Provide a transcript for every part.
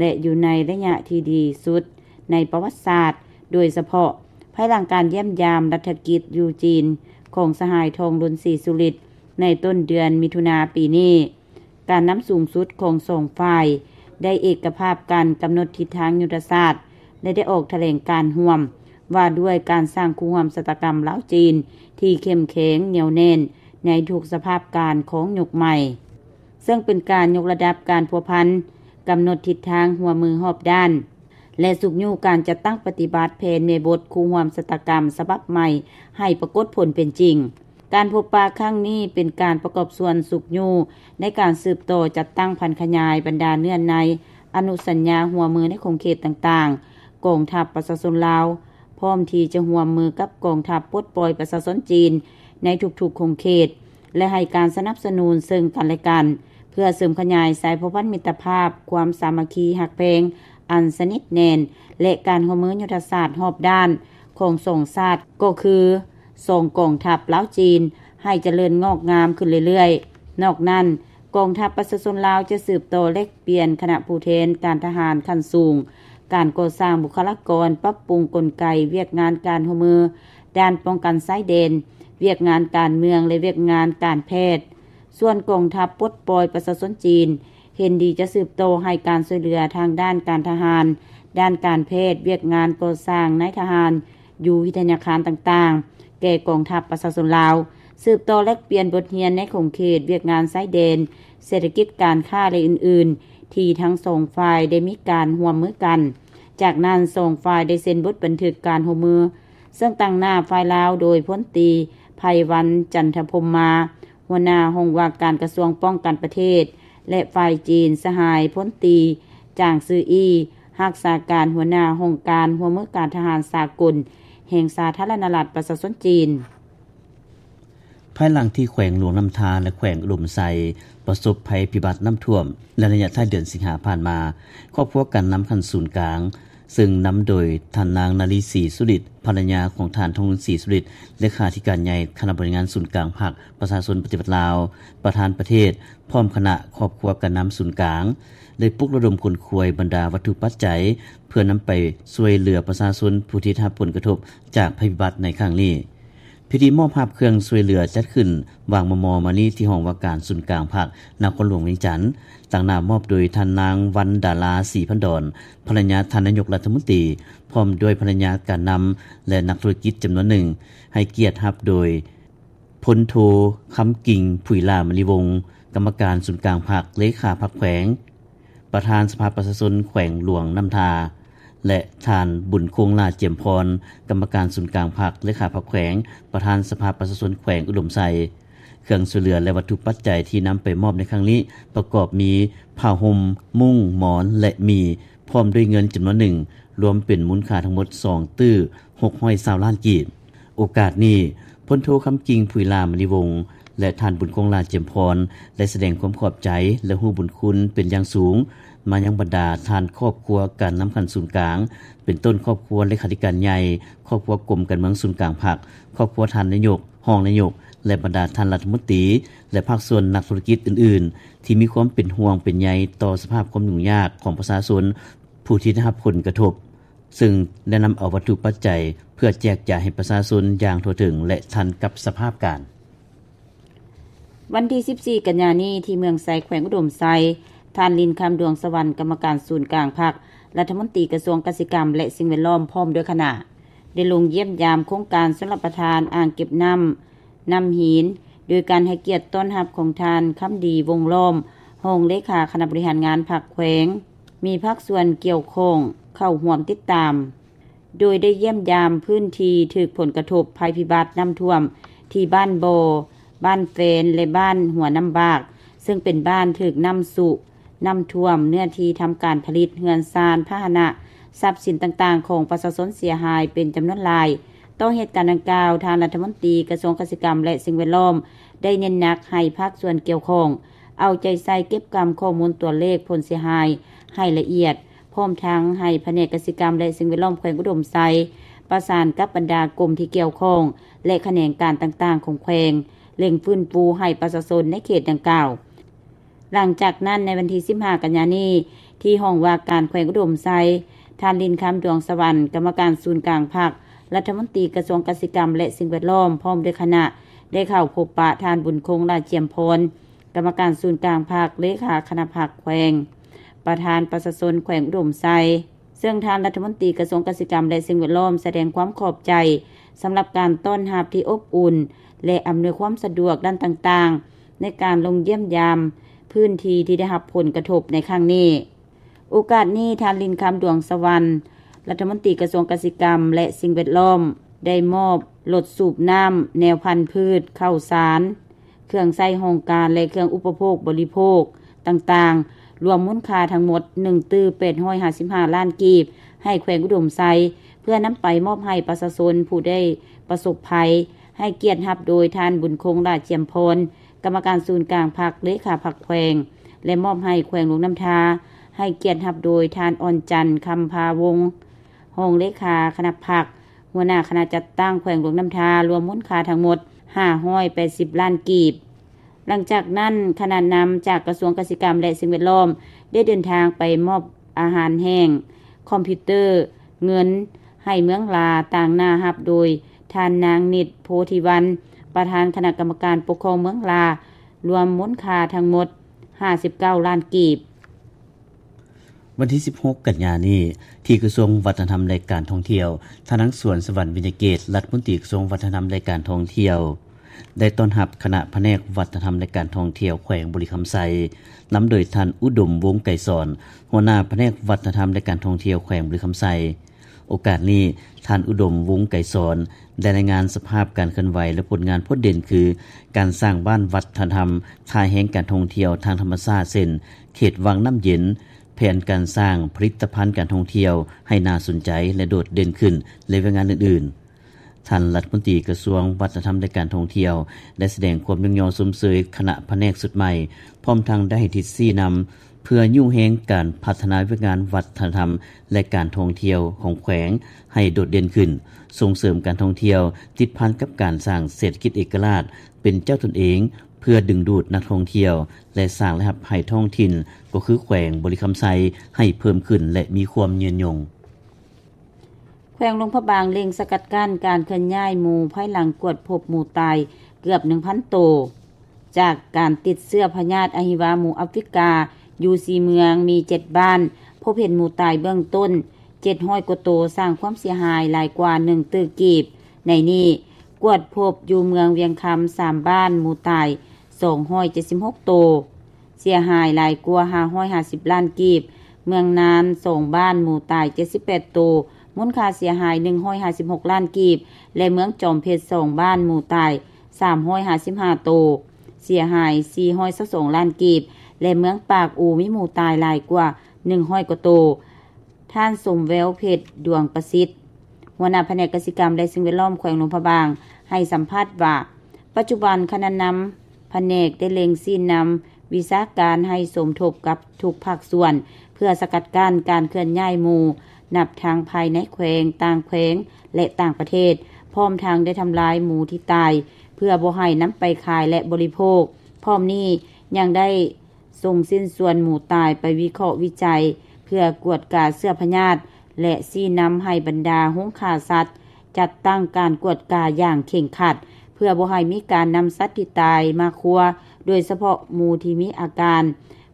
ແລະ ຢູ່ໃນໄລຍະທີ່ດີສຸດໃນປະຫວັດສາດ, ໂດຍສະເພາະພາຍຫຼັງການຢ້ຽມຢາມລັດຖະກິດຢູ່ຈີນຂອງສະຫາຍ ທອງລຸນ ສີສຸລິດ ໃນຕົ້ນເດືອນມິຖຸນາປີນີ້. ການນຳສູງສຸດຂອງສອງຝ່າຍໄດ້ເອກະພາບກັນກຳນົດທິດທາງຍຸດທະສາດ ແລະ ໄດ້ອອກຖະແຫຼງການຮ່ວມວ່າດ້ວຍການສ້າງຄູ່ຮ່ວມຊະຕາກຳລາວ-ຈີນທີ່ເຂັ້ມແຂງ, ໜຽວແໜ້ນໃນທຸກສະພາບການຂອງຍຸກໃໝ່, ເຊິ່ງເປັນການຍົກລະດັບການພົວພັນ, ກຳນົດທິດທາງຮ່ວມມືຮອບດ້ານ ແລະ ຊຸກຍູ້ການຈັດຕັ້ງປະຕິບັດແຜນແມ່ບົດຄູ່ຮ່ວມຊະຕາກຳສະບັບໃໝ່ໃຫ້ປາກົດຜົນເປັນຈິງ. ການພົບປະຄັ້ງນີ້ເປັນການປະກອບສ່ວນຊຸກຍູ້ໃນການສືບຕໍ່ຈັດຕັ້ງຜັນຂະຫຍາຍບັນດາເນື້ອໃນອະນຸສັນຍາຮ່ວມມືໃນຂົງເຂດຕ່າງໆ, ກອງທັບປະຊາຊົນລາວ ພ້ອມທີ່ຈະຮ່ວມມືກັບກອງທັບປົດປ່ອຍປະຊາຊົນຈີນໃນທຸກໆຂົງເຂດ ແລະ ໃຫ້ການສະໜັບສະໜູນເຊິ່ງກັນແລະກັນ ເພື່ອເສີມຂະຫຍາຍສາຍພົວພັນມິດຕະພາບ, ຄວາມສາມັກຄີຮັກແພງອັນສະໜິດແໜ້ນ ແລະ ການຮ່ວມມືຍຸດທະສາດຮອບດ້ານຂອງສອງຊາດ ກໍຄື ສອງກອງທັບລາວ-ຈີນ ໃຫ້ຈະເລີນງອກງາມຂຶ້ນເລື້ອຍໆ. ນອກນັ້ນ, ກອງທັບປະຊາຊົນລາວຈະສືບຕໍ່ແລກປ່ຽນຄະນະຜູ້ແທນການທະຫານຂັ້ນສູງ, ການກໍ່ສ້າງບຸກຄະລາກອນ, ປັບປຸງກົນໄກວຽກງານການຮ່ວມມືດ້ານປ້ອງກັນຊາຍແດນ, ວຽກງານການເມືອງ ແລະ ວຽກງານການແພດ. ສ່ວນກອງທັບປົດປ່ອຍປະຊາຊົນຈີນ ເຫັນດີຈະສືບຕໍ່ໃຫ້ການຊ່ວຍເຫຼືອທາງດ້ານການທະຫານ, ດ້ານການແພດ, ວຽກງານກໍ່ສ້າງນາຍທະຫານ ຢູ່ວິທະຍາຄານຕ່າງໆ ແກ່ກອງທັບປະຊາຊົນລາວ, ສືບຕໍ່ແລກປ່ຽນບົດຮຽນໃນຂົງເຂດວຽກງານຊາຍແດນ, ເສດຖະກິດ, ການຄ້າ ແລະ ອື່ນໆ ທີ່ທັງສອງຝ່າຍໄດ້ມີການຮ່ວມມືກັນ. ຈາກນັ້ນ, ສອງຝ່າຍໄດ້ເຊັນບົດບັນທຶກການຮ່ວມມື, ເຊິ່ງຕາງໜ້າຝ່າຍລາວໂດຍພົນຕີ ໄພວັນ ຈັນທະພົມມາ, ຫົວໜ້າຫ້ອງວ່າການກະຊວງປ້ອງກັນປະເທດ ແລະ ຝ່າຍຈີນ ສະຫາຍພົນຕີ ຈາງຊືອີ ຮັກສາການຫົວໜ້າຫ້ອງການຮ່ວມມືການທະຫານສາກົນ ແຫ່ງສາທາລະນະລັດປະຊາຊົນຈີນ. ພາຍຫຼັງທີ່ແຂວງຫຼວງນ້ຳທາ ແລະ ແຂວງອຸດົມໄຊ ປະສົບໄພພິບັດນ້ຳຖ້ວມໃນໄລຍະທ້າຍເດືອນສິງຫາຜ່ານມາ, ຄອບຄົວການນຳຂັ້ນສູນກາງ ເຊິ່ງນຳໂດຍທ່ານນາງ ນາລີ ສີສຸລິດ ພັນລະຍາຂອງທ່ານ ທອງລຸນ ສີສຸລິດ ເລຂາທິການໃຫຍ່ຄະນະບໍລິຫານງານສູນກາງພັກປະຊາຊົນປະຕິວັດລາວ ປະທານປະເທດ ພ້ອມຄະນະຄອບຄົວການນຳສູນກາງ ໄດ້ປຸກລະດົມຂົນຂວາຍບັນດາວັດຖຸປັດໄຈ ເພື່ອນຳໄປຊ່ວຍເຫຼືອປະຊາຊົນຜູ້ທີ່ໄດ້ຮັບຜົນກະທົບຈາກໄພພິບັດໃນຄັ້ງນີ້. ພິທີມອບຮັບເຄື່ອງຊ່ວຍເຫຼືອຈັດຂຶ້ນຫວ່າງມໍ່ໆມານີ້ທີ່ຫ້ອງວ່າການສູນກາງພັກ ນະຄອນຫຼວງວຽງຈັນ, ຕາງໜ້າມອບໂດຍທ່ານນາງ ວັນດາລາ ສີພັນດອນ ພັນລະຍາທ່ານນາຍົກລັດຖະມົນຕີ ພ້ອມດ້ວຍພັນລະຍາການນຳ ແລະ ນັກທຸລະກິດຈຳນວນໜຶ່ງ, ໃຫ້ກຽດຮັບໂດຍ ພົນໂທ ຄຳກິ່ງ ຜຸຍຫຼ້າມະນີວົງ ກຳມະການສູນກາງພັກ ເລຂາພັກແຂວງ, ປະທານສະພາປະຊາຊົນແຂວງຫຼວງນ້ຳທາ ແລະ ທ່ານ ບຸນຄົງ ຫຼ້າຈຽມພອນ ກຳມະການສູນກາງພັກ ເລຂາພັກແຂວງ, ປະທານສະພາປະຊາຊົນແຂວງອຸດົມໄຊ. ເຄື່ອງຊ່ວຍເຫຼືອ ແລະ ວັດຖຸປັດໄຈທີ່ນຳໄປມອບໃນຄັ້ງນີ້ ປະກອບມີ ຜ້າຫົ່ມ, ມຸ້ງ, ໝອນ ແລະ ໝີ່ ພ້ອມດ້ວຍເງິນຈຳນວນໜຶ່ງ, ລວມເປັນມູນຄ່າທັງໝົດສອງຕື້ຫົກຮ້ອຍຊາວລ້ານກີບ. ໂອກາດນີ້, ພົນໂທ ຄຳກິ່ງ ຜຸຍຫຼ້າມະນີວົງ ແລະ ທ່ານ ບຸນຄົງ ຫຼ້າຈຽມພອນ ໄດ້ສະແດງຄວາມຂອບໃຈ ແລະ ຮູ້ບຸນຄຸນເປັນຢ່າງສູງ ມາຍັງບັນດາທ່ານຄອບຄົວການນຳຂັ້ນສູນກາງ, ເປັນຕົ້ນຄອບຄົວເລຂາທິການໃຫຍ່, ຄອບຄົວກົມການເມືອງສູນກາງພັກ, ຄອບຄົວທ່ານນາຍົກ, ຮອງນາຍົກ ແລະ ບັນດາທ່ານລັດຖະມົນຕີ ແລະ ພາກສ່ວນນັກທຸລະກິດອື່ນໆ ທີ່ມີຄວາມເປັນຫ່ວງເປັນໃຍຕໍ່ສະພາບຄວາມຫຍຸ້ງຍາກຂອງປະຊາຊົນຜູ້ທີ່ໄດ້ຮັບຜົນກະທົບ, ເຊິ່ງໄດ້ນຳເອົາວັດຖຸປັດໄຈເພື່ອແຈກຈ່າຍໃຫ້ປະຊາຊົນຢ່າງທົ່ວເຖິງ ແລະ ທັນກັບສະພາບການ. ວັນທີສິບສີ່ ກັນຍານີ້ ທີ່ເມືອງໄຊ ແຂວງອຸດົມໄຊ, ທ່ານ ລິນຄຳ ດວງສະຫວັນ ກຳມະການສູນກາງພັກ, ລັດຖະມົນຕີກະຊວງກະສິກຳ ແລະ ສິ່ງແວດລ້ອມ ພ້ອມດ້ວຍຄະນະ ໄດ້ລົງຢ້ຽມຢາມໂຄງການຊົນລະປະທານອ່າງເກັບນ້ຳ ນ້ຳຫີນ ໂດຍການໃຫ້ກຽດຕ້ອນຮັບຂອງທ່ານ ຄຳດີ ວົງລ້ອມ ຮອງເລຂາຄະນະບໍລິຫານງານພັກແຂວງ, ມີພາກສ່ວນກ່ຽວຂ້ອງເຂົ້າຮ່ວມຕິດຕາມ, ໂດຍໄດ້ຢ້ຽມຢາມພື້ນທີ່ຖືກຜົນກະທົບໄພພິບັດນ້ຳຖ້ວມ ທີ່ບ້ານບໍ່, ບ້ານແຟນ ແລະ ບ້ານຫົວນ້ຳບາກ, ເຊິ່ງເປັນບ້ານຖືກນ້ຳຊຸ, ນ້ຳຖ້ວມ, ເນື້ອທີ່ທຳການຜະລິດ, ເຮືອນຊານ, ພາຫະນະ, ຊັບສິນຕ່າງໆຂອງປະຊາຊົນເສຍຫາຍເປັນຈຳນວນຫຼາຍ. ຕໍ່ເຫດການດັ່ງກ່າວ, ທ່ານລັດຖະມົນຕີກະຊວງກະສິກຳ ແລະ ສິ່ງແວດລ້ອມ ໄດ້ເນັ້ນໜັກໃຫ້ພາກສ່ວນກ່ຽວຂ້ອງ ເອົາໃຈໃສ່ເກັບກຳຂໍ້ມູນຕົວເລກຜົນເສຍຫາຍໃຫ້ລະອຽດ, ພ້ອມທັງໃຫ້ພະແນກກະສິກຳ ແລະ ສິ່ງແວດລ້ອມແຂວງອຸດົມໄຊ ປະສານກັບບັນດາກົມທີ່ກ່ຽວຂ້ອງ ແລະ ຂະແໜງການຕ່າງໆຂອງແຂວງ ເລັ່ງຟື້ນຟູໃຫ້ປະຊາຊົນໃນເຂດດັ່ງກ່າວ. ຫຼັງຈາກນັ້ນ, ໃນວັນທີສິບຫ້າ ກັນຍານີ້, ທີ່ຫ້ອງວ່າການແຂວງອຸດົມໄຊ, ທ່ານ ລິນຄຳ ດວງສະຫວັນ ກຳມະການສູນກາງພັກ, ລັດຖະມົນຕີກະຊວງກະສິກຳ ແລະ ສິ່ງແວດລ້ອມ ພ້ອມດ້ວຍຄະນະ ໄດ້ເຂົ້າພົບປະທ່ານ ບຸນຄົງ ຫຼ້າຈຽມພອນ ກຳມະການສູນກາງພັກ, ເລຂາຄະນະພັກແຂວງ, ປະທານປະຊາຊົນແຂວງອຸດົມໄຊ. ເຊິ່ງທ່ານລັດຖະມົນຕີກະຊວງກະສິກຳ ແລະ ສິ່ງແວດລ້ອມ ສະແດງຄວາມຂອບໃຈສຳລັບການຕ້ອນຮັບທີ່ອົບອຸ່ນ ແລະ ອຳນວຍຄວາມສະດວກດ້ານຕ່າງໆ ໃນການລົງຢ້ຽມຢາມພື້ນທີ່ທີ່ໄດ້ຮັບຜົນກະທົບໃນຄັ້ງນີ້. ໂອກາດນີ້, ທ່ານ ລິນຄຳ ດວງສະຫວັນ ລັດຖະມົນຕີກະຊວງກະສິກຳ ແລະ ສິ່ງແວດລ້ອມ ໄດ້ມອບລົດສູບນ້ຳ, ແນວພັນພືດ, ເຂົ້າສານ, ເຄື່ອງໃຊ້ຫ້ອງການ ແລະ ເຄື່ອງອຸປະໂພກບໍລິໂພກຕ່າງໆ ລວມມູນຄ່າທັງໝົດ ໜຶ່ງຕື້ແປດຮ້ອຍຫ້າສິບຫ້າລ້ານກີບ ໃຫ້ແຂວງອຸດົມໄຊ ເພື່ອນຳໄປມອບໃຫ້ປະຊາຊົນຜູ້ໄດ້ປະສົບໄພ, ໃຫ້ກຽດຮັບໂດຍທ່ານ ບຸນຄົງ ຫຼ້າຈຽມພອນ ກຳມະການສູນກາງພັກ, ເລຂາພັກແຂວງ ແລະ ມອບໃຫ້ແຂວງຫຼວງນ້ຳທາ, ໃຫ້ກຽດຮັບໂດຍທ່ານ ອ່ອນຈັນ ຄຳພາວົງ ຮອງເລຂາຄະນະພັກ, ຫົວໜ້າຄະນະຈັດຕັ້ງແຂວງຫຼວງນ້ຳທາ, ລວມມູນຄ່າທັງໝົດຫ້າຮ້ອຍແປດສິບລ້ານກີບ. ຫຼັງຈາກນັ້ນ, ຄະນະນຳຈາກກະຊວງກະສິກຳ ແລະ ສິ່ງແວດລ້ອມ ໄດ້ເດີນທາງໄປມອບອາຫານແຫ້ງ, ຄອມພິວເຕີ, ເງິນ ໃຫ້ເມືອງລາ, ຕາງໜ້າຮັບໂດຍທ່ານ ນາງ ນິດ ໂພທິວັນ ປະທານຄະນະກຳມະການປົກຄອງເມືອງລາ, ລວມມູນຄ່າທັງໝົດຫ້າສິບເກົ້າລ້ານກີບ. ວັນທີສິບຫົກກັນຍານີ້, ທີ່ກະຊວງວັດທະນະທຳ ແລະ ການທ່ອງທ່ຽວ, ທ່ານ ນາງ ສວນສະຫວັນ ວິນຍະເກດ ລັດຖະມົນຕີກະຊວງວັດທະນະທຳ ແລະ ການທ່ອງທ່ຽວ ໄດ້ຕ້ອນຮັບຄະນະພະແນກວັດທະນະທຳ ແລະ ການທ່ອງທ່ຽວແຂວງບໍລິຄຳໄຊ, ນຳໂດຍທ່ານ ອຸດົມ ວົງໄກສອນ ຫົວໜ້າພະແນກວັດທະນະທຳ ແລະ ການທ່ອງທ່ຽວແຂວງບໍລິຄຳໄຊ. ໂອກາດນີ້, ທ່ານ ອຸດົມ ວົງໄກສອນ ໄດ້ລາຍງານສະພາບການເຄື່ອນໄຫວ ແລະ ຜົນງານໂພດເດັ່ນ ຄື ການສ້າງບ້ານວັດທະນະທຳ, ທ່າແຮງການທ່ອງທ່ຽວທາງທຳມະຊາດ ເຊັ່ນ ເຂດວັງນ້ຳເຢັນ, ແຜນການສ້າງຜະລິດຕະພັນການທ່ອງທ່ຽວໃຫ້ໜ້າສົນໃຈ ແລະ ໂດດເດັ່ນຂຶ້ນ ແລະ ວຽກງານອື່ນໆ. ທ່ານລັດຖະມົນຕີກະຊວງວັດທະນະທຳ ແລະ ການທ່ອງທ່ຽວ ໄດ້ສະແດງຄວາມຍ້ອງຍໍຊົມເຊີຍຄະນະພະແນກຊຸດໃໝ່, ພ້ອມທັງໄດ້ໃຫ້ທິດຊີ້ນຳ ເພື່ອຍູ້ແຮງການພັດທະນາວຽກງານວັດທະນະທຳ ແລະ ການທ່ອງທ່ຽວຂອງແຂວງໃຫ້ໂດດເດັ່ນຂຶ້ນ, ສົ່ງເສີມການທ່ອງທ່ຽວ ຕິດພັນກັບການສ້າງເສດຖະກິດເອກະລາດ ເປັນເຈົ້າຕົນເອງ ເພື່ອດຶງດູດນັກທ່ອງທ່ຽວ ແລະ ສ້າງລາຍຮັບໃຫ້ທ້ອງຖິ່ນ ກໍຄືແຂວງບໍລິຄຳໄຊ ໃຫ້ເພີ່ມຂຶ້ນ ແລະ ມີຄວາມຍືນຍົງ. ແຂວງຫຼວງພະບາງເລັ່ງສະກັດກັ້ນການເຄື່ອນຍ້າຍໝູ ພາຍຫຼັງກວດພົບໝູຕາຍເກືອບໜຶ່ງພັນໂຕ ຈາກການຕິດເຊື້ອພະຍາດອະຫິວາໝູອາຟຣິກາ ຢູ່ສີ່ເມືອງ ມີເຈັດບ້ານ ພົບເຫັນໝູຕາຍເບື້ອງຕົ້ນເຈັດຮ້ອຍກວ່າໂຕ, ສ້າງຄວາມເສຍຫາຍຫຼາຍກວ່າໜຶ່ງຕື້ກີບ. ໃນນີ້ ກວດພົບຢູ່ເມືອງວຽງຄຳ ສາມບ້ານ ໝູຕາຍສອງຮ້ອຍເຈັດສິບຫົກໂຕ, ເສຍຫາຍຫຼາຍກວ່າຫ້າຮ້ອຍຫ້າສິບລ້ານກີບ, ເມືອງນານ ສອງບ້ານ ໝູຕາຍເຈັດສິບແປດໂຕ, ມູນຄ່າເສຍຫາຍໜຶ່ງຮ້ອຍຫ້າສິບຫົກລ້ານກີບ ແລະ ເມືອງຈອມເພັດ ສອງບ້ານ ໝູຕາຍສາມຮ້ອຍຫ້າສິບຫ້າໂຕ, ເສຍຫາຍສີ່ຮ້ອຍຊາວສອງລ້ານກີບ ແລະ ເມືອງປາກອູ ມີໝູຕາຍຫຼາຍກວ່າໜຶ່ງຮ້ອຍກວ່າໂຕ. ທ່ານ ສົມແວວເພັດ ດວງປະສິດ ຫົວໜ້າພະແນກກະສິກຳ ແລະ ສິ່ງແວດລ້ອມ ແຂວງຫຼວງພະບາງ ໃຫ້ສຳພາດວ່າ ປັດຈຸບັນຄະນະນຳພະແນກໄດ້ເລັ່ງຊີ້ນຳວິຊາການໃຫ້ສົມທົບກັບທຸກພາກສ່ວນ ເພື່ອສະກັດກັ້ນການເຄື່ອນຍ້າຍໝູ ນັບທັງພາຍໃນແຂວງ, ຕ່າງແຂວງ ແລະ ຕ່າງປະເທດ, ພ້ອມທັງໄດ້ທຳລາຍໝູທີ່ຕາຍ ເພື່ອບໍ່ໃຫ້ນຳໄປຂາຍ ແລະ ບໍລິໂພກ. ພ້ອມນີ້ຍັງໄດ້ ສົ່ງຊິ້ນສ່ວນໝູຕາຍໄປວິເຄາະວິໄຈ ເພື່ອກວດກາເຊື້ອພະຍາດ ແລະ ຊີ້ນຳໃຫ້ບັນດາໂຮງຂ້າສັດ ຈັດຕັ້ງການກວດກາຢ່າງເຄັ່ງຄັດ ເພື່ອບໍ່ໃຫ້ມີການນຳສັດທີ່ຕາຍມາຄົວ, ໂດຍສະເພາະໝູທີ່ມີອາການ,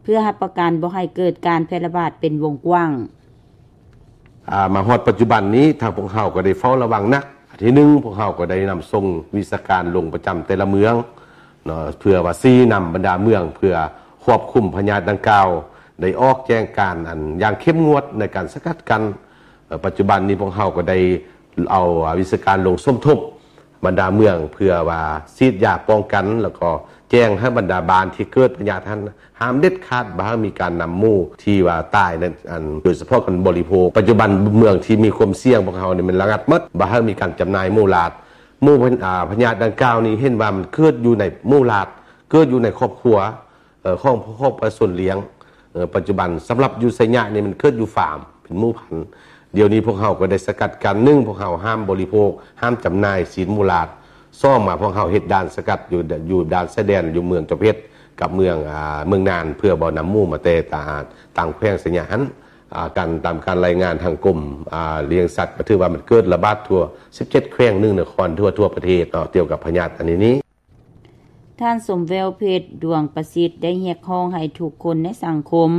ເພື່ອຮັບປະກັນບໍ່ໃຫ້ເກີດການແຜ່ລະບາດເປັນວົງກວ້າງ. ອາ ມາຮອດປັດຈຸບັນນີ້ ທາງພວກເຮົາກໍໄດ້ເຝົ້າລະວັງໜັກ. ທີໜຶ່ງ ພວກເຮົາກໍໄດ້ນຳສົ່ງວິຊາການລົງປະຈຳແຕ່ລະເມືອງເນາະ ເພື່ອວ່າຊີ້ນຳບັນດາເມືອງ ເພື່ອຄວບຄຸມພະຍາດດັ່ງກ່າວ ໄດ້ອອກແຈ້ງການອັນຢ່າງເຂັ້ມງວດໃນການສະກັດກັ້ນ. ເອີ ປັດຈຸບັນນີ້ພວກເຮົາກໍໄດ້ເອົາ ອາ ວິຊາການລົງສົມທົບບັນດາເມືອງ ເພື່ອວ່າສີດຢາປ້ອງກັນ ແລ້ວກໍແຈ້ງໃຫ້ບັນດາບ້ານທີ່ເກີດພະຍາດຫັ້ນ ຫ້າມເດັດຂາດ ບໍ່ໃຫ້ມີການນຳໝູທີ່ວ່າຕາຍນັ້ນ ອັນ ໂດຍສະເພາະການບໍລິໂພກ. ປັດຈຸບັນເມືອງທີ່ມີຄວາມສ່ຽງພວກເຮົານີ້ແມ່ນລະງັດໝົດ, ບໍ່ໃຫ້ມີການຈຳໜ່າຍໝູຫຼາດ. ໝູ ອາ ພະຍາດດັ່ງກ່າວນີ້ເຫັນວ່າມັນເກີດຢູ່ໃນໝູຫຼາດ, ເກີດຢູ່ໃນຄອບຄົວ ເອີ ຂອງ ຂອງປະຊາຊົນລ້ຽງ. ເອີ ປັດຈຸບັນສຳລັບຢູ່ໄຊຍະນີ້ມັນເກີດຢູ່ຟາມ ເປັນໝູພັນ. ດຽວນີ້ພວກເຮົາກໍໄດ້ສະກັດກັ້ນ, ໜຶ່ງ ພວກເຮົາຫ້າມບໍລິໂພກ, ຫ້າມຈຳໜ່າຍຊີ້ນໝູຫຼາດ. ສອງມາ ພວກເຮົາເຮັດດ່ານສະກັດຢູ່ ຢູ່ດ່ານຊາຍແດນ ຢູ່ເມືອງຈອມເພັດ ກັບເມືອງ ອາ ເມືອງນານ ເພື່ອບໍ່ນຳໝູມາແຕ່ຕ່າງ ຕ່າງແຂວງໄຊຍະຫັ້ນ. ອາ ການ ຕາມການລາຍງານທາງກົມ ອາ ລ້ຽງສັດ ກໍຖືວ່າມັນເກີດລະບາດທົ່ວສິບເຈັດແຂວງ ໜຶ່ງນະຄອນ ທົ່ວ ທົ່ວປະເທດເນາະ ກ່ຽວກັບພະຍາດອັນນີ້ນີ້. ທ່ານ ສົມແວວ ເພັດດວງປະສິດ ໄດ້ຮຽກຮ້ອງໃຫ້ທຸກຄົນໃນສັງຄົມ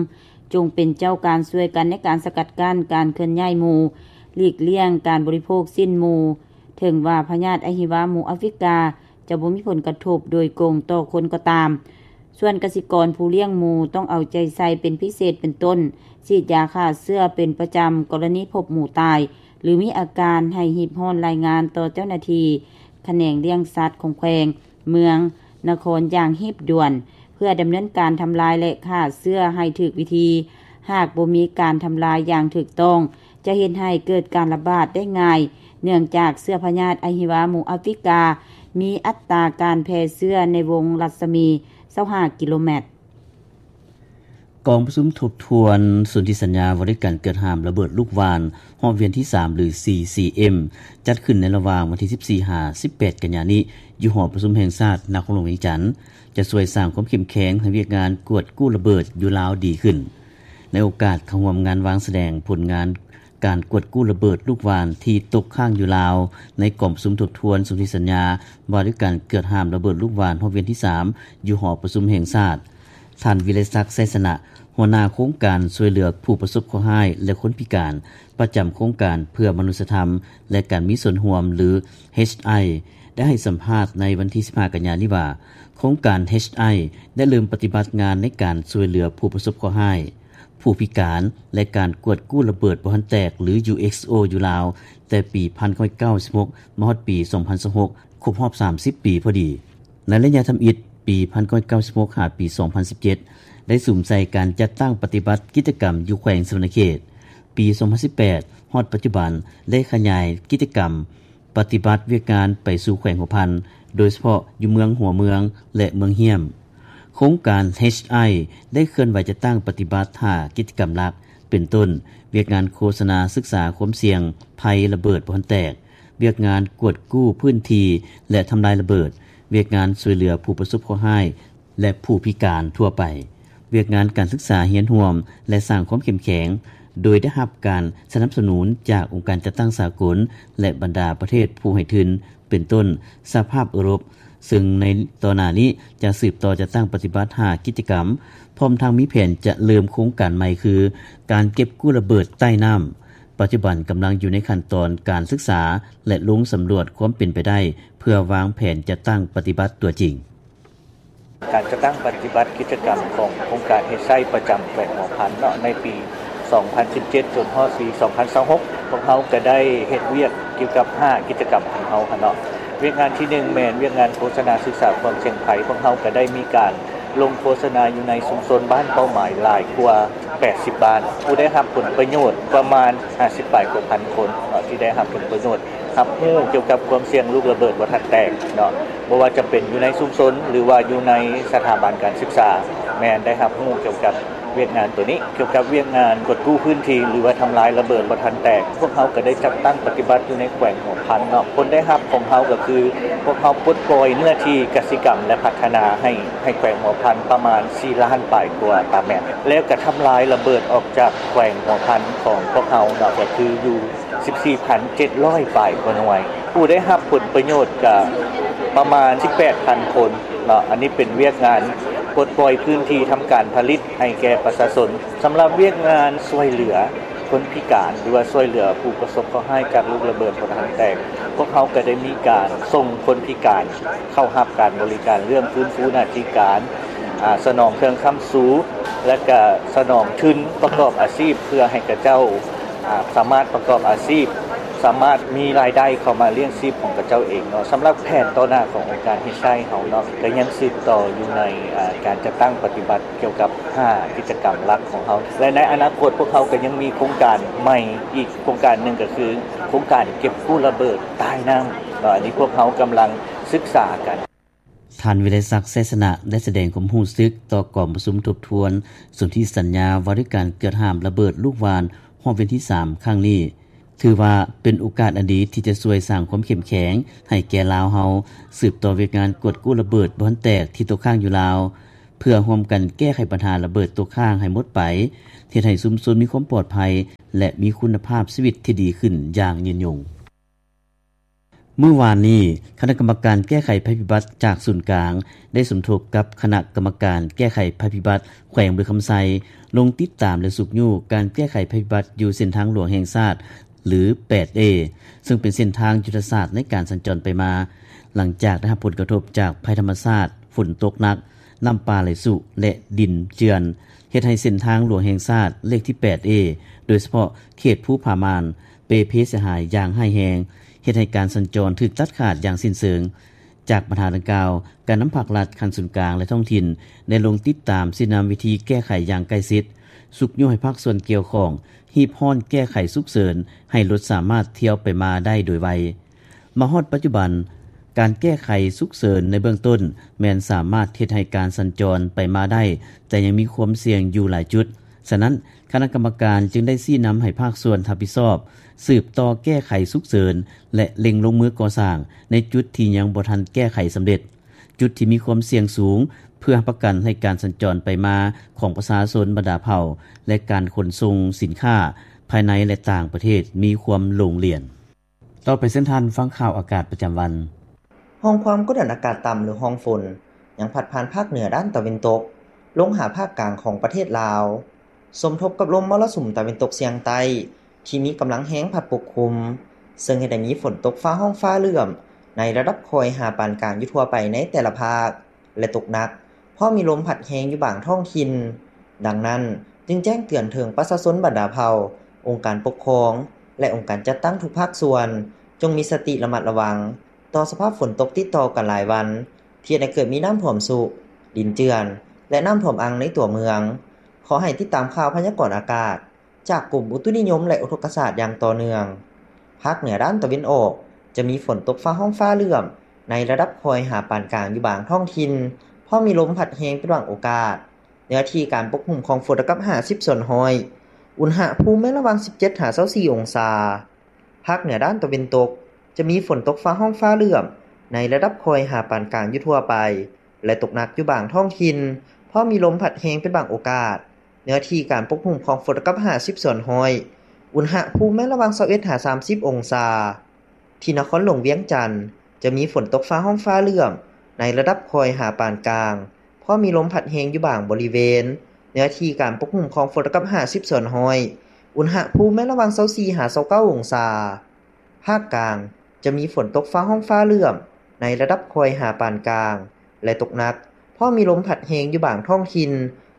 ຈົ່ງເປັນເຈົ້າການຊ່ວຍກັນໃນການສະກັດກັ້ນການເຄື່ອນຍ້າຍໝູ, ຫຼີກລ່ຽງການບໍລິໂພກຊີ້ນໝູ, ເຖິງວ່າພະຍາດອະຫິວາໝູອາຟຣິກາ ຈະບໍ່ມີຜົນກະທົບໂດຍກົງຕໍ່ຄົນກໍຕາມ. ສ່ວນກະສິກອນຜູ້ລ້ຽງໝູຕ້ອງເອົາໃຈໃສ່ເປັນພິເສດ ເປັນຕົ້ນ ສີດຢາຂ້າເຊື້ອເປັນປະຈຳ, ກໍລະນີພົບໝູຕາຍ ຫຼື ມີອາການໃຫ້ຮີບຮ້ອນລາຍງານຕໍ່ເຈົ້າໜ້າທີ່ຂະແໜງລ້ຽງສັດຂອງແຂວງ, ເມືອງ, ນະຄອນຢ່າງຮີບດ່ວນ ເພື່ອດຳເນີນການທຳລາຍ ແລະ ຂ້າເຊື້ອໃຫ້ຖືກວິທີ. ຫາກບໍ່ມີການທຳລາຍຢ່າງຖືກຕ້ອງ ຈະເຮັດໃຫ້ເກີດການລະບາດໄດ້ງ່າຍ ເນື່ອງຈາກເຊື້ອພະຍາດອະຫິວາໝູອາຟຣິກາ ມີອັດຕາການແຜ່ເຊື້ອໃນວົງລັດສະໝີຊາວຫ້າກິໂລແມັດ. ກອງປະຊຸມທົບທວນສົນທິສັນຍາວ່າດ້ວຍການເກີດຫ້າມລະເບີດລູກຫວ່ານຮອບວຽນທີສາມ ຫຼື ຊີຊີເອັມ ຈັດຂຶ້ນໃນລະຫວ່າງວັນທີສິບສີ່ ຫາ ສິບແປດ ກັນຍານີ້ ຢູ່ຫໍປະຊຸມແຫ່ງຊາດນະຄອນຫຼວງວຽງຈັນ ຈະຊ່ວຍສ້າງຄວາມເຂັ້ມແຂງໃຫ້ວຽກງານກວດກູ້ລະເບີດຢູ່ລາວດີຂຶ້ນ. ໃນໂອກາດເຂົ້າຮ່ວມງານວາງສະແດງຜົນງານການກວດກູ້ລະເບີດລູກຫວ່ານທີ່ຕົກຄ້າງຢູ່ລາວ ໃນກອງປະຊຸມທົບທວນສົນທິສັນຍາວ່າດ້ວຍການເກີດຫ້າມລະເບີດລູກຫວ່ານຮອບວຽນທີສາມ ຢູ່ຫໍປະຊຸມແຫ່ງຊາດ, ທ່ານ ວິໄລສັກ ໄຊຊະນະ ຫົວໜ້າໂຄງການຊ່ວຍເຫຼືອຜູ້ປະສົບເຄາະຮ້າຍ ແລະ ຄົນພິການ ປະຈຳໂຄງການເພື່ອມະນຸດສະທຳ ແລະ ການມີສ່ວນຮ່ວມ ຫຼື ເອັດໄອ ໄດ້ໃຫ້ສຳພາດໃນວັນທີສິບຫ້າ ກັນຍານີ້ວ່າ ໂຄງການ ເອັດໄອ ໄດ້ເລີ່ມປະຕິບັດງານໃນການຊ່ວຍເຫຼືອຜູ້ປະສົບເຄາະຮ້າຍ, ຜູ້ພິການ ແລະ ການກວດກູ້ລະເບີດບໍ່ທັນແຕກ ຫຼື ຢູເອັກໂອ ຢູ່ລາວ ແຕ່ປີພັນເກົ້າຮ້ອຍເກົ້າສິບຫົກ ມາຮອດປີສອງພັນຊາວຫົກ ຄົບຮອບສາມສິບປີພໍດີ. ໃນໄລຍະທຳອິດ ປີພັນເກົ້າຮ້ອຍເກົ້າສິບຫົກ ຫາ ປີສອງພັນສິບເຈັດ ໄດ້ສຸມໃສ່ການຈັດຕັ້ງປະຕິບັດກິດຈະກຳຢູ່ແຂວງສະຫວັນນະເຂດ. ປີສອງພັນສິບແປດ ຮອດປັດຈຸບັນ ໄດ້ຂະຫຍາຍກິດຈະກຳປະຕິບັດວຽກງານໄປສູ່ແຂວງຫົວພັນ, ໂດຍສະເພາະຢູ່ເມືອງຫົວເມືອງ ແລະ ເມືອງຫ້ຽມ. ໂຄງການ ເອັດໄອ ໄດ້ເຄື່ອນໄຫວຈັດຕັ້ງປະຕິບັດຫ້າກິດຈະກຳຫຼັກ ເປັນຕົ້ນ ວຽກງານໂຄສະນາສຶກສາຄວາມສ່ຽງໄພລະເບີດບໍ່ທັນແຕກ, ວຽກງານກວດກູ້ພື້ນທີ່ ແລະ ທຳລາຍລະເບີດ, ວຽກງານຊ່ວຍເຫຼືອຜູ້ປະສົບເຄາະຮ້າຍ ແລະ ຜູ້ພິການທົ່ວໄປ, ວຽກງານການສຶກສາຮຽນຮ່ວມ ແລະ ສ້າງຄວາມເຂັ້ມແຂງ, ໂດຍໄດ້ຮັບການສະໜັບສະໜູນຈາກອົງການຈັດຕັ້ງສາກົນ ແລະ ບັນດາປະເທດຜູ້ໃຫ້ທຶນ ເປັນຕົ້ນ ສະຫະພາບເອີຣົບ, ເຊິ່ງໃນຕໍ່ໜ້ານີ້ຈະສືບຕໍ່ຈັດຕັ້ງປະຕິບັດຫ້າກິດຈະກຳ, ພ້ອມທັງມີແຜນຈະເລີ່ມໂຄງການໃໝ່ ຄື ການເກັບກູ້ລະເບີດໃຕ້ນ້ຳ. ປັດຈຸບັນກຳລັງຢູ່ໃນຂັ້ນຕອນການສຶກສາ ແລະ ລົງສຳຫຼວດຄວາມເປັນໄປໄດ້ ເພື່ອວາງແຜນຈັດຕັ້ງປະຕິບັດຕົວຈິງ. ການຈັດຕັ້ງປະຕິບັດກິດຈະກຳຂອງໂຄງການເຮັດໄຊປະຈຳແຂວງຫົວພັນເນາະ ໃນປີສອງພັນສິບເຈັດ ຈົນຮອດປີສອງພັນຊາວຫົກ ພວກເຮົາກະໄດ້ເຮັດວຽກກ່ຽວກັບຫ້າກິດຈະກຳຂອງເຮົາຫັ້ນເນາະ. ວຽກງານທີໜຶ່ງແມ່ນວຽກງານໂຄສະນາສຶກສາຄວາມສ່ຽງໄພ, ພວກເຮົາກະໄດ້ມີການລົງໂຄສະນາຢູ່ໃນຊຸມຊົນບ້ານເປົ້າໝາຍຫຼາຍກວ່າແປດສິບບ້ານ. ຜູ້ໄດ້ຮັບຜົນປະໂຫຍດປະມານຫ້າສິບປາຍກວ່າພັນຄົນເນາະ ທີ່ໄດ້ຮັບຜົນປະໂຫຍດ ຮັບຮູ້ກ່ຽວກັບຄວາມສ່ຽງລູກລະເບີດບໍ່ທັນແຕກເນາະ, ບໍ່ວ່າຈະເປັນຢູ່ໃນຊຸມຊົນ ຫຼືວ່າຢູ່ໃນສະຖາບັນການສຶກສາ ແມ່ນໄດ້ຮັບຮູ້ກ່ຽວກັບວຽກງານໂຕນີ້. ກ່ຽວກັບວຽກງານກວດກູ້ພື້ນທີ່ ຫຼືວ່າທຳລາຍລະເບີດບໍ່ທັນແຕກ, ພວກເຮົາກະໄດ້ຈັດຕັ້ງປະຕິບັດຢູ່ໃນແຂວງຫົວພັນເນາະ. ຜົນໄດ້ຮັບຂອງເຮົາກະຄື ພວກເຮົາປົດປ່ອຍເນື້ອທີ່ກະສິກຳ ແລະ ພັດທະນາໃຫ້ ໃຫ້ແຂວງຫົວພັນປະມານສີ່ລ້ານປາຍກວ່າຕາແມັດ, ແລ້ວກະທຳລາຍລະເບີດອອກຈາກແຂວງຫົວພັນຂອງພວກເຮົາເນາະ ກະຄືຢູ່ ສິບສີ່ພັນເຈັດຮ້ອຍປາຍກວ່າໜ່ວຍ. ຜູ້ໄດ້ຮັບຜົນປະໂຫຍດກະປະມານສິບແປດພັນຄົນເນາະ. ອັນນີ້ເປັນວຽກງານປົດປ່ອຍພື້ນທີ່ທຳການຜະລິດໃຫ້ແກ່ປະຊາຊົນ. ສຳລັບວຽກງານຊ່ວຍເຫຼືອຄົນພິການ ຫຼືວ່າຊ່ວຍເຫຼືອຜູ້ປະສົບເຄາະຮ້າຍຈາກລູກລະເບີດບໍ່ທັນແຕກ, ພວກເຮົາກະໄດ້ມີການສົ່ງຄົນພິການເຂົ້າຮັບການບໍລິການເລື່ອງຟື້ນຟູໜ້າທີ່ການ, ອາ, ສະໜອງເຄື່ອງຄ້ຳຊູ ແລະກະສະໜອງທຶນປະກອບອາຊີບ ເພື່ອໃຫ້ເຂົາເຈົ້າ ອາ ສາມາດປະກອບອາຊີບ, ສາມາດມີລາຍໄດ້ເຂົ້າມາລ້ຽງຊີບຂອງເຂົາເຈົ້າເອງເນາະ. ສຳລັບແຜນຕໍ່ໜ້າຂອງອົງການເຮັດໄຊເຮົາເນາະ ກະຍັງສືບຕໍ່ຢູ່ໃນ ອາ ການຈັດຕັ້ງປະຕິບັດກ່ຽວກັບຫ້າກິດຈະກຳຫຼັກຂອງເຮົາ ແລະ ໃນອະນາຄົດພວກເຮົາກະຍັງມີໂຄງການໃໝ່ອີກໂຄງການໜຶ່ງ ກະຄືໂຄງການເກັບກູ້ລະເບີດໃຕ້ນ້ຳເນາະ. ອັນນີ້ພວກເຮົາກຳລັງສຶກສາກັນ. ທ່ານ ວິໄລສັກ ໄຊຊະນະ ໄດ້ສະແດງຄວາມຮູ້ສຶກຕໍ່ກອງປະຊຸມທົບທວນສົນທິສັນຍາວ່າດ້ວຍການເກີດຫ້າມລະເບີດລູກຫວ່ານຮອບວຽນທີສາມຄັ້ງນີ້ ຖືວ່າເປັນໂອກາດອັນດີທີ່ຈະຊ່ວຍສ້າງຄວາມເຂັ້ມແຂງໃຫ້ແກ່ລາວເຮົາ ສືບຕໍ່ວຽກງານກວດກູ້ລະເບີດບໍ່ທັນແຕກທີ່ຕົກຄ້າງຢູ່ລາວ. ເພື່ອຮ່ວມກັນແກ້ໄຂບັນຫາລະເບີດຕົກຄ້າງໃຫ້ໝົດໄປ, ເຮັດໃຫ້ຊຸມຊົນມີຄວາມປອດໄພ ແລະ ມີຄຸນນະພາບຊີວິດທີ່ດີຂຶ້ນຢ່າງຍືນຍົງ. ມື້ວານນີ້, ຄະນະກຳມະການແກ້ໄຂໄພພິບັດຈາກສູນກາງ ໄດ້ສົມທົບກັບຄະນະກຳມະການແກ້ໄຂໄພພິບັດແຂວງບໍລິຄຳໄຊ ລົງຕິດຕາມ ແລະ ຊຸກຍູ້ການແກ້ໄຂໄພພິບັດຢູ່ເສັ້ນທາງຫຼວງແຫ່ງຊາດ ຫຼື ແປດເອ ເຊິ່ງເປັນເສັ້ນທາງຍຸດທະສາດໃນການສັນຈອນໄປມາ, ຫຼັງຈາກໄດ້ຮັບຜົນກະທົບຈາກໄພທຳມະຊາດ, ຝົນຕົກໜັກ, ນ້ຳປ່າໄຫຼຊຸ ແລະ ດິນເຈື່ອນ, ເຮັດໃຫ້ເສັ້ນທາງຫຼວງແຫ່ງຊາດເລກທີ ແປດເອ ໂດຍສະເພາະເຂດພູຜາມ່ານ ເປ່ເພເສຍຫາຍຢ່າງຮ້າຍແຮງ, ເຮັດໃຫ້ການສັນຈອນຖືກຕັດຂາດຢ່າງສິ້ນເຊີງ. ຈາກບັນຫາດັ່ງກ່າວ, ການນຳພາກລັດຂັ້ນສູນກາງ ແລະ ທ້ອງຖິ່ນ ໄດ້ລົງຕິດຕາມຊີ້ນຳວິທີແກ້ໄຂຢ່າງໃກ້ຊິດ, ຊຸກຍູ້ໃຫ້ພາກສ່ວນກ່ຽວຂ້ອງຮີບຮ້ອນແກ້ໄຂສຸກເສີນ ໃຫ້ລົດສາມາດທຽວໄປມາໄດ້ໂດຍໄວ. ມາຮອດປັດຈຸບັນ, ການແກ້ໄຂສຸກເສີນໃນເບື້ອງຕົ້ນແມ່ນສາມາດເຮັດໃຫ້ການສັນຈອນໄປມາໄດ້, ແຕ່ຍັງມີຄວາມສ່ຽງຢູ່ຫຼາຍຈຸດ. ສະນັ້ນ, ຄະນະກຳມະການຈຶ່ງໄດ້ຊີ້ນຳໃຫ້ພາກສ່ວນຮັບຜິດຊອບ ສືບຕໍ່ແກ້ໄຂສຸກເສີນ ແລະ ເລັ່ງລົງມືກໍ່ສ້າງໃນຈຸດທີ່ຍັງບໍ່ທັນແກ້ໄຂສຳເລັດ, ຈຸດທີ່ມີຄວາມສ່ຽງສູງ, ເພື່ອຮັບປະກັນໃຫ້ການສັນຈອນໄປມາຂອງປະຊາຊົນບັນດາເຜົ່າ ແລະ ການຂົນສົ່ງສິນຄ້າພາຍໃນ ແລະ ຕ່າງປະເທດມີຄວາມໂລ່ງລ່ຽນ. ຕໍ່ໄປເຊີນທ່ານຟັງຂ່າວອາກາດປະຈຳວັນ. ຮ່ອງຄວາມກົດດັນອາກາດຕ່ຳ ຫຼື ຮ່ອງຝົນ ຍັງພັດຜ່ານພາກເໜືອດ້ານຕາເວັນຕົກ ລົງຫາພາກກາງຂອງປະເທດລາວ, ສົມທົບກັບລົມມໍລະສຸມຕາເວັນຕົກສຽງໃຕ້ ທີ່ມີກຳລັງແຮງພັດປົກຄຸມ, ເຊິ່ງເຮັດໃຫ້ມີຝົນຕົກຟ້າຮ້ອງຟ້າເຫຼື້ອມ ໃນລະດັບຄ່ອຍຫາປານກາງຢູ່ທົ່ວໄປໃນແຕ່ລະພາກ ແລະ ຕົກໜັກ, ພ້ອມມີລົມພັດແຮງຢູ່ບາງທ້ອງຖິ່ນ. ດັ່ງນັ້ນ, ຈຶ່ງແຈ້ງເຕືອນເຖິງປະຊາຊົນບັນດາເຜົ່າ, ອົງການປົກຄອງ ແລະ ອົງການຈັດຕັ້ງທຸກພາກສ່ວນ ຈົ່ງມີສະຕິລະມັດລະວັງຕໍ່ສະພາບຝົນຕົກຕິດຕໍ່ກັນຫຼາຍວັນ ທີ່ເຮັດໃຫ້ເກີດມີນ້ຳຖ້ວມຊຸ, ດິນເຈື່ອນ ແລະ ນ້ຳຖ້ວມອັ່ງໃນຕົວເມືອງ. ຂໍໃຫ້ຕິດຕາມຂ່າວພະຍາກອນອາກາດ ຈາກກົມອຸຕຸນິຍົມ ແລະ ອຸທົກກະສາດຢ່າງຕໍ່ເນື່ອງ. ພາກເໜືອດ້ານຕາເວັນອອກ ຈະມີຝົນຕົກຟ້າຮ້ອງຟ້າເຫຼື້ອມ ໃນລະດັບຄ່ອຍຫາປານກາງຢູ່ບາງທ້ອງຖິ່ນ, ພ້ອມມີລົມພັດແຮງເປັນບາງໂອກາດ. ເນື້ອທີ່ການປົກຄຸມຂອງຝົນເທົ່າກັບຫ້າສິບສ່ວນຮ້ອຍ. ອຸນຫະພູມແມ່ນລະຫວ່າງສິບເຈັດຫາຊາວສີ່ອົງສາ. ພາກເໜືອດ້ານຕາເວັນຕົກ ຈະມີຝົນຕົກຟ້າຮ້ອງຟ້າເຫຼື້ອມ ໃນລະດັບຄ່ອຍຫາປານກາງຢູ່ທົ່ວໄປ ແລະ ຕົກໜັກຢູ່ບາງທ້ອງຖິ່ນ, ພ້ອມມີລົມພັດແຮງເປັນບາງໂອກາດ. ເນື້ອທີ່ການປົກຄຸມຂອງຝົນເທົ່າກັບຫ້າສິບສ່ວນຮ້ອຍ. ອຸນຫະພູມແມ່ນລະຫວ່າງຊາວເອັດຫາສາມສິບອົງສາ. ທີ່ນະຄອນຫຼວງວຽງຈັນ ຈະມີຝົນຕົກຟ້າຮ້ອງຟ້າເຫຼື້ອມ ໃນລະດັບຄ່ອຍຫາປານກາງ, ພໍມີລົມພັດແຮງຢູ່ບາງບໍລິເວນ. ເນື້ອທີ່ການປົກຄຸມຂອງຝົນເທົ່າກັບຫ້າສິບສ່ວນຮ້ອຍ. ອຸນຫະພູມແມ່ນລະຫວ່າງຊາວສີ່ຫາຊາວເກົ້າອົງສາ. ພາກກາງ ຈະມີຝົນຕົກຟ້າຮ້ອງຟ້າເຫຼື້ອມ ໃນລະດັບຄ່ອຍຫາປານກາງ ແລະ ຕົກໜັກ, ພໍມີລົມພັດແຮງຢູ່ບາງທ້ອງຖິ່ນ.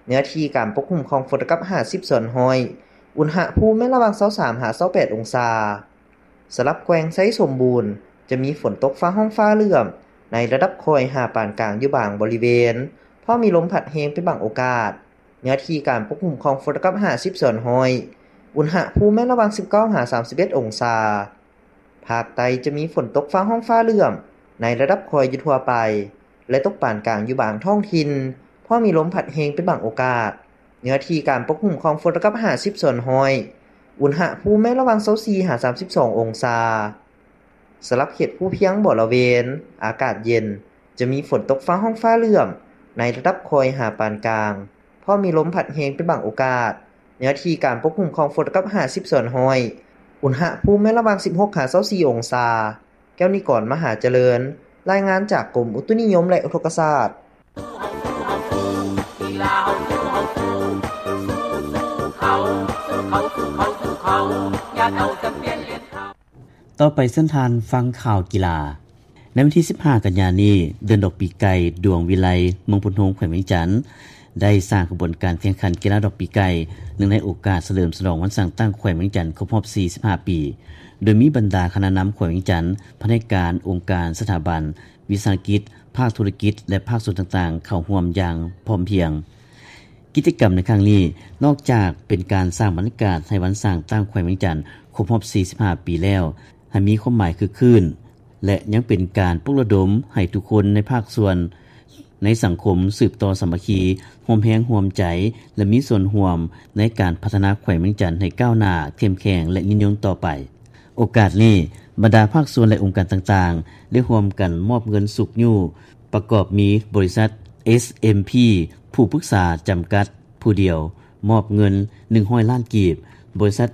ເນື້ອທີ່ການປົກຄຸມຂອງຝົນເທົ່າກັບຫ້າສິບສ່ວນຮ້ອຍ. ອຸນຫະພູມແມ່ນລະຫວ່າງຊາວສາມຫາຊາວແປດອົງສາ. ສຳລັບແຂວງໄຊສົມບູນ ຈະມີຝົນຕົກຟ້າຮ້ອງຟ້າເຫຼື້ອມ ໃນລະດັບຄ່ອຍຫາປານກາງຢູ່ບາງບໍລິເວນ, ພໍມີລົມພັດແຮງເປັນບາງໂອກາດ. ເນື້ອທີ່ການປົກຄຸມຂອງຝົນເທົ່າກັບຫ້າສິບສ່ວນຮ້ອຍ. ອຸນຫະພູມແມ່ນລະຫວ່າງສິບເກົ້າຫາສາມສິບເອັດອົງສາ. ພາກໃຕ້ຈະມີຝົນຕົກຟ້າຮ້ອງຟ້າເຫຼື້ອມ ໃນລະດັບຄ່ອຍຢູ່ທົ່ວໄປ ແລະ ຕົກປານກາງຢູ່ບາງທ້ອງຖິ່ນ, ພໍມີລົມພັດແຮງເປັນບາງໂອກາດ. ເນື້ອທີ່ການປົກຄຸມຂອງຝົນເທົ່າກັບຫ້າສິບສ່ວນຮ້ອຍ. ອຸນຫະພູມແມ່ນລະຫວ່າງຊາວສີ່ຫາສາມສິບສອງອົງສາ. ສຳລັບເຂດພູພຽງບໍລະເວນ ອາກາດເຢັນ, ຈະມີຝົນຕົກຟ້າຮ້ອງຟ້າເຫຼື້ອມ ໃນລະດັບຄ່ອຍຫາປານກາງ, ພໍມີລົມພັດແຮງເປັນບາງໂອກາດ. ເນື້ອທີ່ການປົກຄຸມຂອງຝົນເທົ່າກັບຫ້າສິບສ່ວນຮ້ອຍ. ອຸນຫະພູມແມ່ນລະຫວ່າງສິບຫົກຫາຊາວສີ່ອົງສາ. ແກ້ວນິກອນ ມະຫາຈະເລີນ, ລາຍງານຈາກກົມອຸຕຸນິຍົມ ແລະ ອຸທົກກະສາດ. ຕໍ່ໄປເຊີນທ່ານຟັງຂ່າວກິລາ. ໃນວັນທີສິບຫ້າ ກັນຍານີ້, ເດືອນດອກປີໄກ່ ດວງວິໄລ ເມືອງໂພນໂຮງ ແຂວງວຽງຈັນ ໄດ້ສ້າງຂະບວນການແຂ່ງຂັນກິລາດອກປີໄກ່ ເນື່ອງໃນໂອກາດສະເຫຼີມສະຫຼອງວັນສ້າງຕັ້ງແຂວງວຽງຈັນຄົບຮອບສີ່ສິບຫ້າປີ, ໂດຍມີບັນດາຄະນະນຳແຂວງວຽງຈັນ, ພະແນກການ, ອົງການ, ສະຖາບັນ, ວິສາຫະກິດ, ພາກທຸລະກິດ ແລະ ພາກສ່ວນຕ່າງໆ ເຂົ້າຮ່ວມຢ່າງພ້ອມພຽງ. ກິດຈະກຳໃນຄັ້ງນີ້ ນອກຈາກເປັນການສ້າງບັນຍາກາດໃຫ້ວັນສ້າງຕັ້ງແຂວງວຽງຈັນຄົບຮອບສີ່ສິບຫ້າປີແລ້ວ ໃຫ້ມີຄວາມໝາຍຄຶກຄື້ນ ແລະ ຍັງເປັນການປຸກລະດົມໃຫ້ທຸກຄົນໃນພາກສ່ວນໃນສັງຄົມສືບຕໍ່ສາມັກຄີ, ຮ່ວມແຮງຮ່ວມໃຈ ແລະ ມີສ່ວນຮ່ວມໃນການພັດທະນາແຂວງວຽງຈັນໃຫ້ກ້າວໜ້າ, ເຂັ້ມແຂງ ແລະ ຍືນຍົງຕໍ່ໄປ. ໂອກາດນີ້, ບັນດາພາກສ່ວນ ແລະ ອົງການຕ່າງໆ ໄດ້ຮ່ວມກັນມອບເງິນຊຸກຍູ້ ປະກອບມີບໍລິສັດ ເອສເອັມພີ ຜູ້ປຶກສາຈຳກັດ ຜູ້ດຽວ ມອບເງິນ ໜຶ່ງຮ້ອຍລ້ານກີບ, ບໍລິສັດ